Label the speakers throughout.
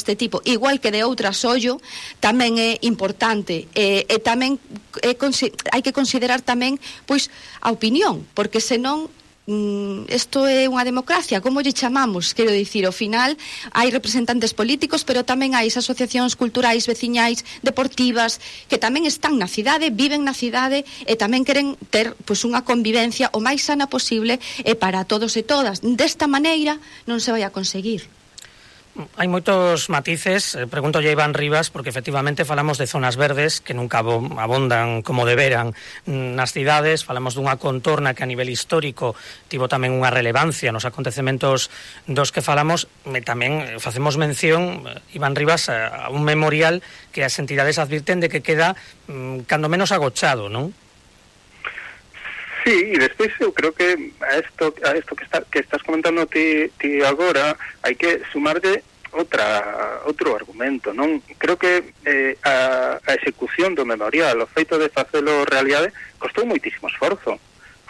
Speaker 1: este tipo, igual que de outras ollo, tamén é importante, e tamén hai que considerar tamén pois a opinión, porque senón isto é unha democracia, como lle chamamos? Quero dicir, ao final hai representantes políticos, pero tamén hai asociacións culturais, veciñais, deportivas, que tamén están na cidade, viven na cidade e tamén queren ter pois unha convivencia o máis sana posible e para todos e todas. Desta maneira non se vai a conseguir.
Speaker 2: Hai moitos matices, pregúntolle a Iván Rivas, porque efectivamente falamos de zonas verdes que nunca abondan como deberan nas cidades, falamos dunha contorna que a nivel histórico tivo tamén unha relevancia nos acontecementos dos que falamos, e tamén facemos mención, Iván Rivas, a un memorial que as entidades advirten de que queda cando menos agochado, non?
Speaker 3: Sí, e despois eu creo que a isto que estás comentando ti agora hai que sumarlle outro argumento, non? Creo que a execución do memorial, o feito de facelo realidade, costou moitísimo esforzo.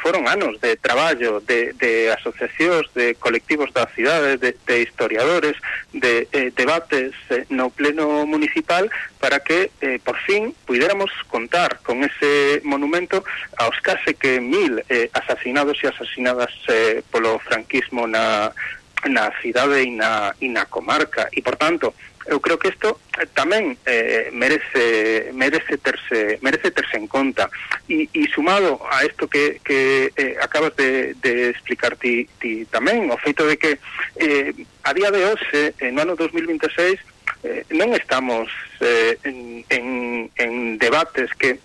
Speaker 3: Foron anos de traballo de asociacións, de colectivos da cidade, de historiadores, de debates no pleno municipal para que, por fin, puidéramos contar con ese monumento aos case que 1000 asasinados e asasinadas polo franquismo na cidade e na comarca. E, por tanto, eu creo que isto tamén merece terse en conta e sumado a isto que acabas de explicar ti tamén, o feito de que a día de hoxe, no ano 2026, non estamos en debates que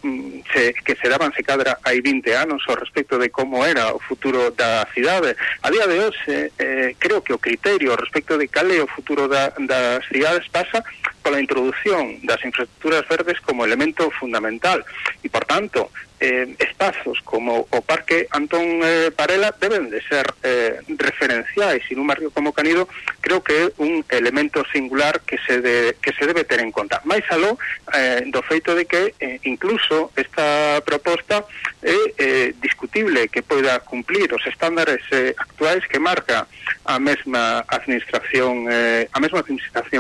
Speaker 3: se daban se cadra hai 20 anos ao respecto de como era o futuro da cidade. A día de hoxe creo que o criterio respecto de cal é o futuro das cidades pasa pola introducción das infraestructuras verdes como elemento fundamental e, por tanto, espazos como o Parque Antón Parela deben de ser referenciais e nun barrio como Canido creo que é un elemento singular que se debe ter en conta. Mais aló do feito de que incluso esta proposta é discutible que poida cumplir os estándares actuais que marca a mesma administración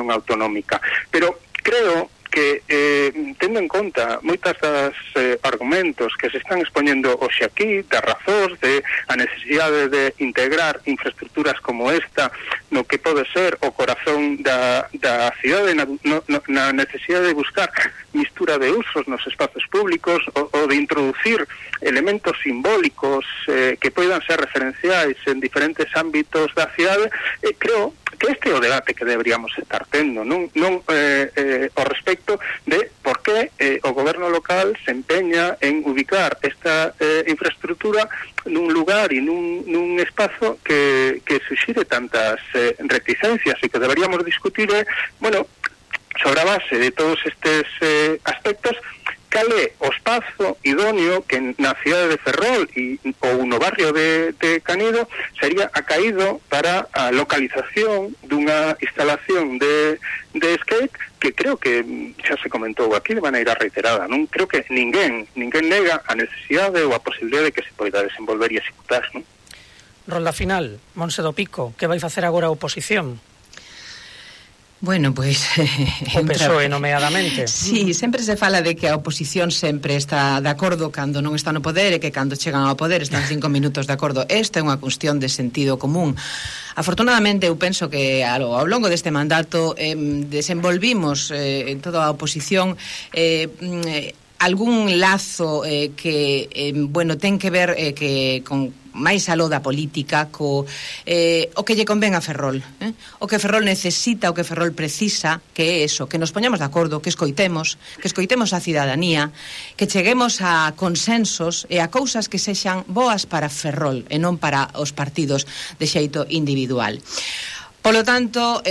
Speaker 3: autonómica. Pero creo que tendo en conta moitas das argumentos que se están expoñendo hoxe aquí, das razóns de a necesidade de integrar infraestructuras como esta no que pode ser o corazón da cidade, na necesidade de buscar mistura de usos nos espazos públicos ou de introducir elementos simbólicos que poidan ser referenciais en diferentes ámbitos da cidade, creo que este é o debate que deberíamos estar tendo, non ao respecto de por que o goberno local se empeña en ubicar esta infraestructura nun lugar e nun espazo que suxire tantas reticencias e que deberíamos discutir sobre a base de todos estes aspectos cal é o espazo idóneo que na cidade de Ferrol ou no barrio de Canido sería acaído para a localización dunha instalación de skate que creo que xa se comentou aquí de maneira reiterada, non? Creo que ninguén nega a necesidade ou a posibilidade de que se poida desenvolver e executar, non?
Speaker 2: Rolda final, Montse do Pico, que vai facer agora a oposición?
Speaker 4: Bueno, pois...
Speaker 2: O PSOE, nomeadamente.
Speaker 4: Sí, sempre se fala de que a oposición sempre está de acordo cando non está no poder e que cando chegan ao poder están 5 minutos de acordo. Esta é unha cuestión de sentido común. Afortunadamente, eu penso que ao longo deste mandato desenvolvimos en toda a oposición algún lazo que ten que ver que con máis aló da política o que lle convén a Ferrol, o que Ferrol necesita, o que Ferrol precisa, que é eso, que nos poñamos de acordo, que escoitemos a cidadanía, que cheguemos a consensos e a cousas que sexan boas para Ferrol e non para os partidos de xeito individual. Polo tanto,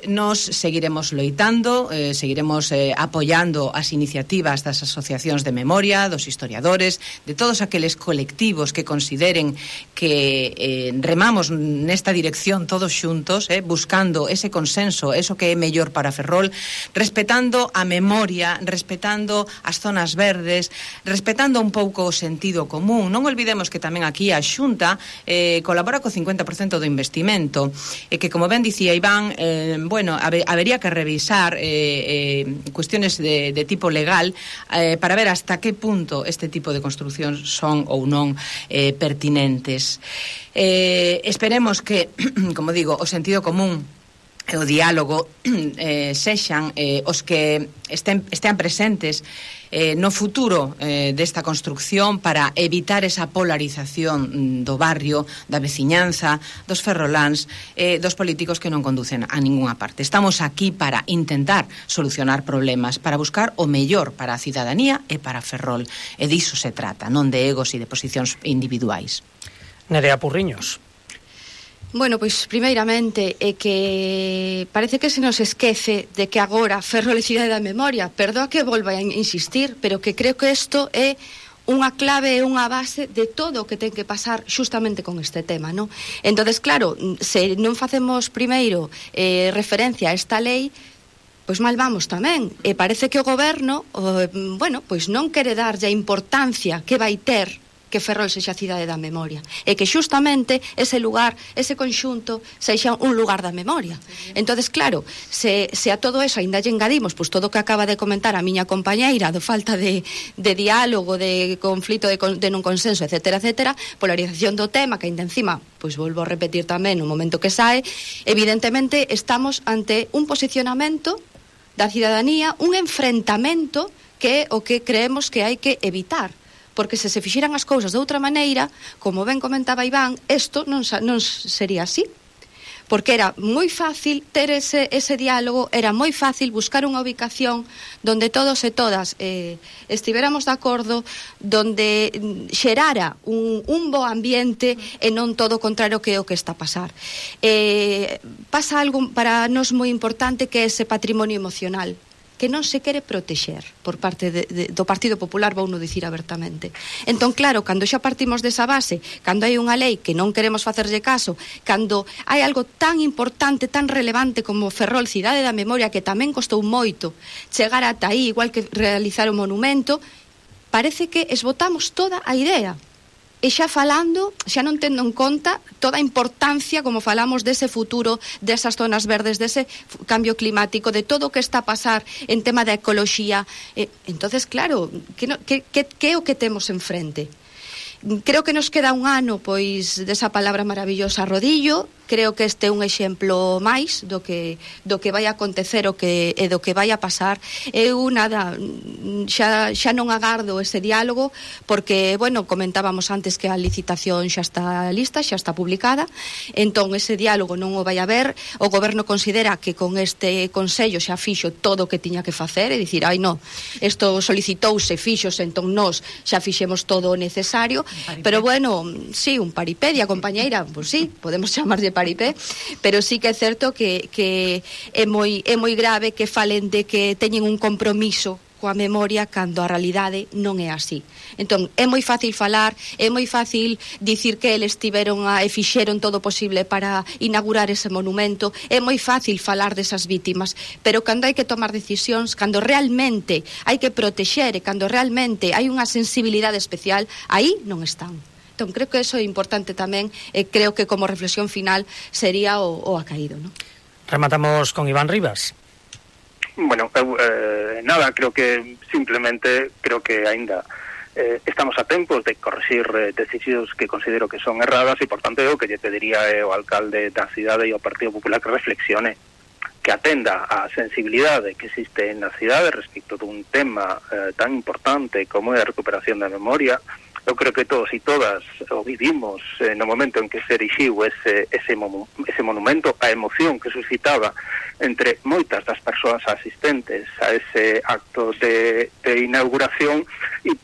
Speaker 4: nos seguiremos loitando, seguiremos apoiando as iniciativas das asociacións de memoria, dos historiadores, de todos aqueles colectivos que consideren que remamos nesta dirección todos xuntos, buscando ese consenso, eso que é mellor para Ferrol, respetando a memoria, respetando as zonas verdes, respetando un pouco o sentido común. Non olvidemos que tamén aquí a Xunta colabora co 50% do investimento, e que, como ben dicía Iván, bueno, habería que revisar cuestiones de tipo legal para ver hasta que punto este tipo de construcións son ou non pertinentes. Esperemos que, como digo, o sentido común e o diálogo sexan os que estean presentes no futuro desta construcción para evitar esa polarización do barrio, da veciñanza, dos ferroláns, dos políticos que non conducen a ningunha parte. Estamos aquí para intentar solucionar problemas, para buscar o mellor para a cidadanía e para Ferrol. E diso se trata, non de egos e de posicións individuais.
Speaker 2: Nerea Purriños.
Speaker 1: Bueno, pois primeiramente é que parece que se nos esquece de que agora Ferrol é cidade da memoria. Perdoa que volva a insistir, pero que creo que isto é unha clave e unha base de todo o que ten que pasar xustamente con este tema, non? Entonces, claro, se non facemos primeiro referencia a esta lei, pois mal vamos tamén. E parece que o goberno, bueno, pois non quere darlle a importancia que vai ter que Ferrol sexa a cidade da memoria, e que xustamente ese lugar, ese conxunto sexa un lugar da memoria. Entonces, claro, se a todo eso ainda lle engadimos pois todo o que acaba de comentar a miña compañeira do falta de diálogo, de conflito, de non consenso, etcétera, etcétera, polarización do tema, que ainda encima, pois volvo a repetir tamén no momento que sae, evidentemente estamos ante un posicionamento da cidadanía, un enfrentamento que é o que creemos que hai que evitar. Porque se fixeran as cousas de outra maneira, como ben comentaba Iván, isto non sería así. Porque era moi fácil ter ese diálogo, era moi fácil buscar unha ubicación donde todos e todas estivéramos de acordo, donde xerara un bo ambiente e non todo o contrario que é o que está a pasar. Pasa algo para nós moi importante, que é ese patrimonio emocional, que non se quere protexer por parte do Partido Popular, vou non dicir abertamente. Entón, claro, cando xa partimos desa base, cando hai unha lei que non queremos facerlle caso, cando hai algo tan importante, tan relevante como Ferrol, cidade da memoria, que tamén costou moito chegar ata aí, igual que realizar o monumento, parece que esbotamos toda a idea. E xa falando, xa non tendo en conta toda a importancia, como falamos, dese futuro, desas zonas verdes, dese cambio climático, de todo o que está a pasar en tema da ecoloxía. Entonces, claro, que é o que temos enfrente? Creo que nos queda un ano, pois, desa palabra maravillosa rodillo. Creo que este é un exemplo máis do que vai acontecer e do que vai a pasar. Eu nada, xa non agardo ese diálogo, porque, bueno, comentábamos antes que a licitación xa está lista, xa está publicada, entón ese diálogo non o vai haber. O goberno considera que con este Consello xa fixo todo o que tiña que facer, e dicir, ai non, isto solicitouse, fixose, entón nós xa fixemos todo o necesario, pero bueno, sí, un paripedia, compañeira, pois sí, podemos chamarlle paripé, pero sí que é certo que é moi grave que falen de que teñen un compromiso coa memoria cando a realidade non é así. Entón, é moi fácil falar, é moi fácil dicir que eles tiveron e fixeron todo o posible para inaugurar ese monumento, é moi fácil falar desas vítimas, pero cando hai que tomar decisións, cando realmente hai que protexer e cando realmente hai unha sensibilidade especial, aí non están. Entón, creo que eso é importante tamén, e creo que como reflexión final sería o acaído, ¿no?
Speaker 2: Rematamos con Iván Rivas.
Speaker 3: Bueno, nada, creo que simplemente aínda estamos a tempos de corrixir decisións que considero que son erradas, e por tanto eu que lle pediría ao alcalde da cidade e ao Partido Popular que reflexione, que atenda a sensibilidade que existe na cidade respecto dun tema tan importante como é a recuperación da memoria. Eu creo que todos e todas o vivimos no momento en que se erixiu ese monumento, a emoción que suscitaba entre moitas das persoas asistentes a ese acto de inauguración, e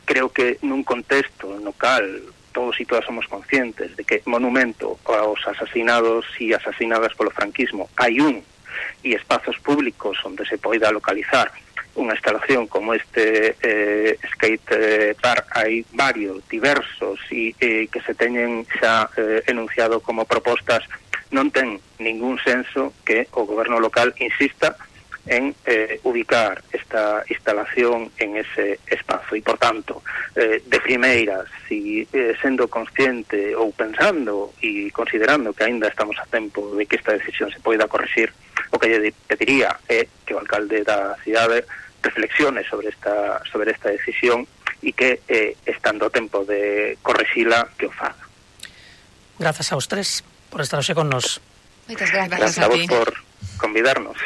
Speaker 3: creo que nun contexto no cal todos e todas somos conscientes de que monumento aos asasinados e asasinadas polo franquismo hai un, e espazos públicos onde se poida localizar unha instalación como este skate park, hai varios, diversos, e que se teñen xa enunciado como propostas, non ten ningún senso que o goberno local insista en ubicar esta instalación en ese espazo. E, por tanto, de primeiras, si sendo consciente ou pensando e considerando que aínda estamos a tempo de que esta decisión se poida corrixir, o que lle pediría é que o alcalde da cidade reflexione sobre esta decisión e que, estando a tempo de corrixila, que o faga.
Speaker 2: Grazas aos tres por estar hoxe con nos.
Speaker 1: Moitas grazas.
Speaker 3: Grazas a vos por convidarnos.